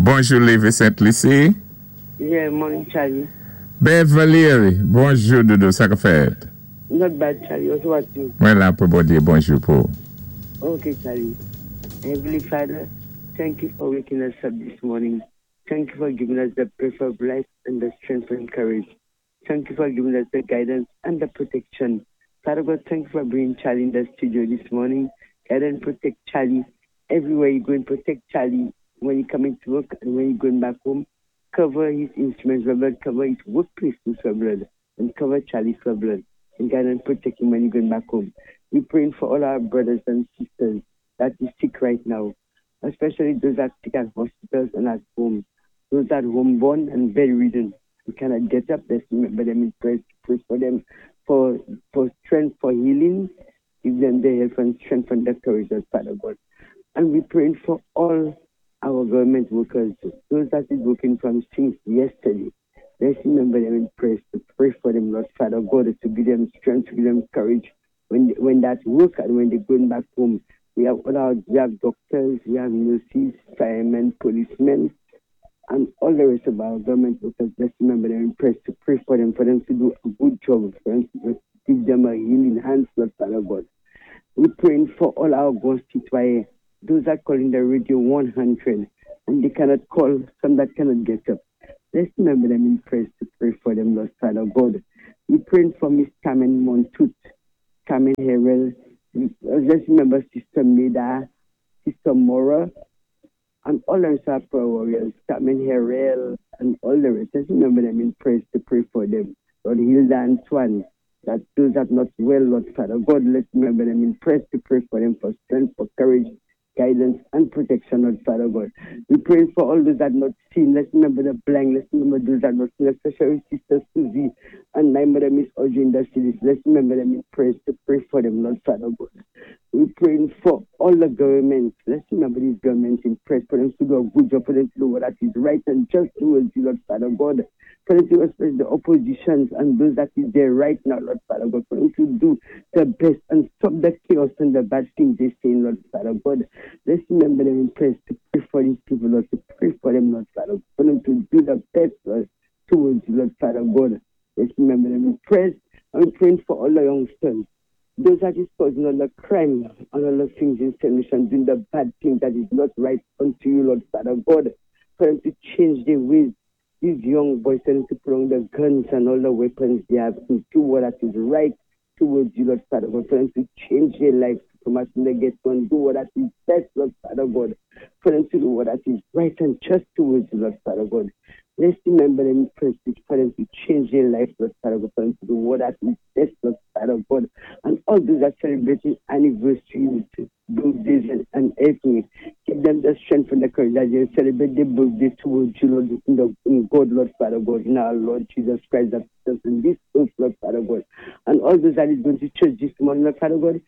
Bonjou, Lévi Sent Lisi. Yeah, morning, Charlie. Beverly, bonjou, doudou, sa ka fèt? Not bad, Charlie. Also, what you? Mwen la pou Bondyé, bonjou pou. Okay, Charlie. Heavenly Father, thank you for waking us up this morning. Thank you for giving us the breath of life and the strength and courage. Thank you for giving us the guidance and the protection. Father God, thank you for bringing Charlie in the studio this morning. Guide and protect Charlie everywhere you go and protect Charlie when he coming to work and when he going back home. Cover his instruments with blood, cover his workplace with blood, and cover Charlie for blood. And guide and protect him when he going back home. We're praying for all our brothers and sisters that is sick right now, especially those that sick at hospitals and at home, those that homeborn and bedridden. We cannot get up. Let's remember them in prayer, pray for them for strength, for healing. Give them the help and strength and the courage, Lord Father God. And we're praying for all our government workers, those that is working from since yesterday. Let's remember them in prayer, to pray for them, Lord Father God, to give them strength, to give them courage when that work and when they're going back home. We have doctors, we have nurses, firemen, policemen, and all the rest of our government workers. Let's remember them in prayer, to pray for them to do a good job, for them to give them a healing hand, Lord Father God. We're praying for all our grands citoyens, those that call in the radio 100 and they cannot call, some that cannot get up. Let's remember them in prayer, to pray for them, Lord Father God. We're praying for Miss Carmen Montut, Carmen Harrell. Let's remember Sister Meda, Sister Mora, and all the rest of prayer warriors, Carmen Harrell, and all the rest. Let's remember them in prayer, to pray for them. Lord Hilda Antoine, that those that not well, Lord Father God, let's remember them in prayer, to pray for them for strength, for courage, guidance, and protection, Lord Father God. We pray for all those that not seen. Let's remember the blind. Let's remember those that not seen, especially Sister Susie and my mother, Miss Audrey in the cities. Let's remember them in prayers, to pray for them, Lord Father God. We're praying for all the governments. Let's remember these governments in prayers, for them to do a good job, for them to do what that is right and just towards you, Lord Father God. For them to respect the oppositions and those that is there right now, Lord Father God. For them to do the best and stop the chaos and the bad things they say, Lord Father God. Let's remember them in prayers, to pray for these people, Lord, to pray for them, Lord Father, for them to do the best, Lord, towards you, Lord Father God. Let's remember them in prayers. I'm praying for all the youngsters, those that is causing all the crime and all the things in Saint Lucia, doing the bad thing that is not right unto you, Lord Father God, for them to change their ways. These young boys, for them to put on the guns and all the weapons they have to do what that is right towards you, Lord Father God, for them to change their lives, to come out from the ghetto and do what that is best, Lord Father God, for them to do what that is right and just towards you, Lord Father God. Let's remember them first, for them to change their life, Lord Father God, for them to do what that is best, Lord Father God. And all those that celebrating anniversaries, birthdays, and everything, give them the strength and the courage that they celebrate their birthday towards you, Lord, in God, Lord Father God, in our Lord Jesus Christ, that is in this earth, Lord Father God. And all those that is going to church this morning, Lord Father God,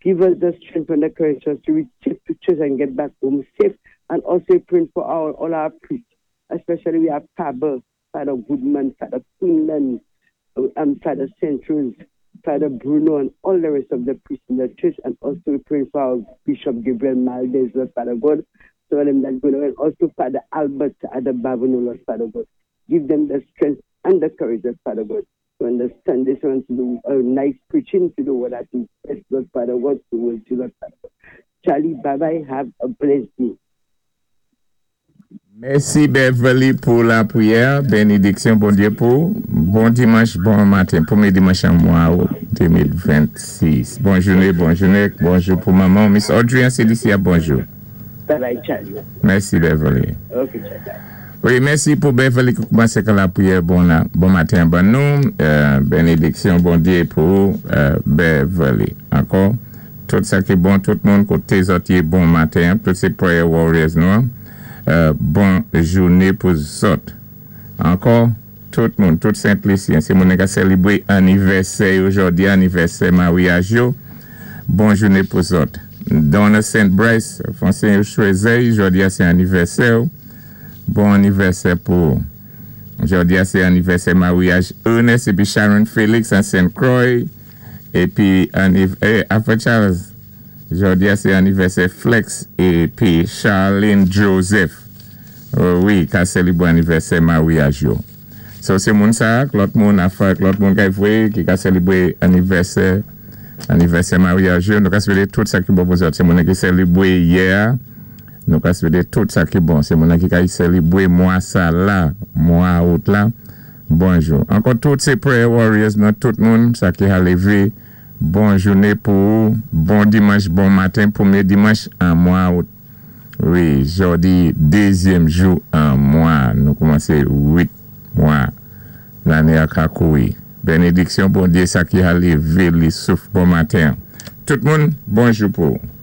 give us the strength and the courage to reach safe to church and get back home safe. And also praying for all our priests, especially we have Father, Father Goodman, Father Quinlan, Father Centrals, Father Bruno, and all the rest of the priests in the church. And also we pray for our Bishop Gabriel Maldez, Lord Father God, so them that go and also Father Albert at the Babano, Lord Father God. Give them the strength and the courage, Lord Father God, to understand this one, to do a nice preaching, to do what that is best, Lord Father God, to you, Lord Father God. Charlie, bye-bye, have a blessed day. Mèsi, Beverly, pou lapriyè. Benediksyon, Bondyé pou. Bon dimanch, bon maten. Pwémyé dimanch an mwa 2026. Bon jouné, bon jouné. Bonjou pou manman. Miss Audrey an Celicia, bonjou. Bye bye, Charlie. Mèsi, Beverly. Ok, Charlie. Wi, mèsi pou Beverly ki koumansé ak lapriyè. Bon maten, ban nou. Benediksyon, Bondyé pou Beverly. Ankò, tout sa ki bon, tout moun koté zòt yé bon maten, tout sé prayer warriors nou. Bon jouné pou zòt. Ankò, tout moun, tout Sent Lisyen, sé moun ki sélébwé anivèsè jòdi, anivèsè maryaj yo, bon jouné pou zòt. Donna Saint Bryce, Francine Choisey, jòdi sé anivèsè, bon anivèsè pou jòdi sé anivèsè maryaj Ernest épi Sharon Félix an Saint Croix épi apwé Charles, jòdi sé anivèsè Flex épi Charlene Joseph. Wi, ka sélibwé anivèsè maryaj yo. So sé moun sa, lòt moun afè, lòt moun kay vwé, ki ka sélibwé anivèsè maryaj yo, nou ka swété tout sa ki bon pou zòt. Sé moun ki sélibwé yè, nou ka swété tout sa ki bon. Sé moun ki ka sélibwé mwa sa la, mwa out la, bonjou. Ankò tout sé prayer warriors nan tout moun, sa ki a lévé, bon jouné pou ou, bon dimanch, bon maten, pwémyé dimanch an mwa out. Wi, jòdi dézyèm jou an mwa, nou koumansé 8 mwa, lanné a ka kouri. Bénédiksyon Bondyé sa ki a lévé li souf bon maten. Tout moun, bonjou pou ou.